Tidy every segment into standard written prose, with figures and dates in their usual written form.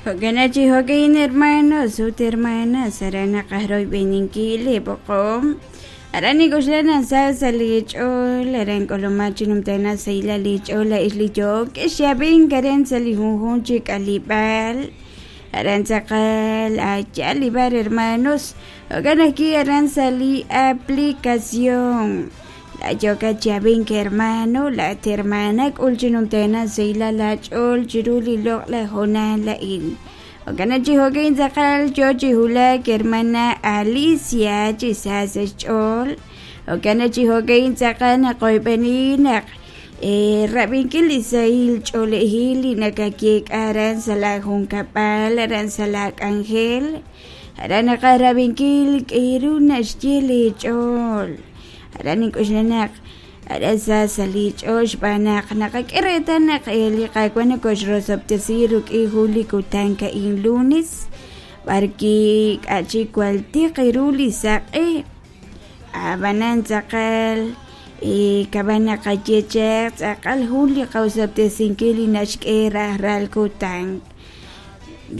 Jo'kan chi jo'kan hermanos ut hermanas aran naqaj royb'eninkil li b'oqom aran nik'oxla naq sa sa' li ch'ool aran k'ulumak chi numtajenaq sahilal li ch'ool la'ex li yo'kex xab'ink aran sa' li junjunq chi k'aleb'aal aran tz'aqal a'yaal li b'ar hermanos jo'kan ajwi' aran sa' li aplicación la yookat chi ab'ink hermano laa'at hermana k'ul chi numtajenaq sahilal aach'ool chiru li loq'laj hoonal a'in jo'kan chi jo'kan tz'aqal yoo chi wulak hermana Alicia chi sa sa' xch'ool jo'kan chi jo'kan tz'aqal naqoyb'eni naq rab'inkil li sahil ch'oolejil li nakayeek'a aran sa' laajunkab'al aran sa' laak'anjel aran naqaj rab'inkil k'aru naxye li ch'ool aran nink'oxla naq aran sa sa' li ch'ool xb'aan naq naqak'e reetal naq li Qaawa' nokoxrosob'tesi rik'in jun li kutan a'in lunes b'arwi' k'a' chik jwal tiq ru li saq'e ab'anan tz'aqal kab'an naqaye chaq tz'aqal jun li qaosob'tesinkil li naxk'e rajlal kutan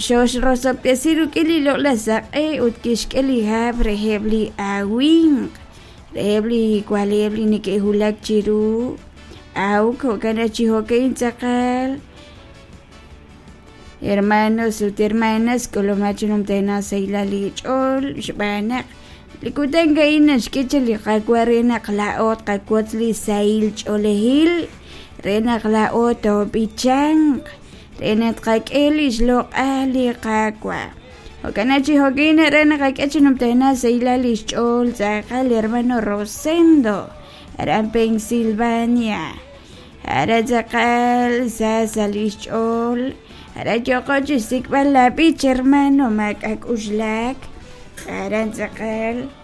xoxrosob'tesi rik'in li loq'laj saq'e ut kixk'e li hab' reheb' li awimq reheb' li wa'leb' li neke'wulak chiru awk jo'kan naq chi jo'kan tz'aqal hermanos ut hermanas k'ulumak chi numtajenaq sahilal li ch'ool xb'aan naq li kutan a'in naxk'e chaq li Qaawa' re naq laa'o tqawotz li sahil ch'oolejil re naq laa'o toob'ichanq re naq tqak'e li xloq'al li Qaawa'. Jo'kan naq chi jo'kan re naqak'e chi numtajenaq sahilal li xch'ool tz'aqal hermano Rosendo aran Pensilvania. Aran tz'aqal sa sa' li xch'ool aran yooqo chi xsik'b'al laab'ich hermano maak'a' k'uxlak aran tz'aqal.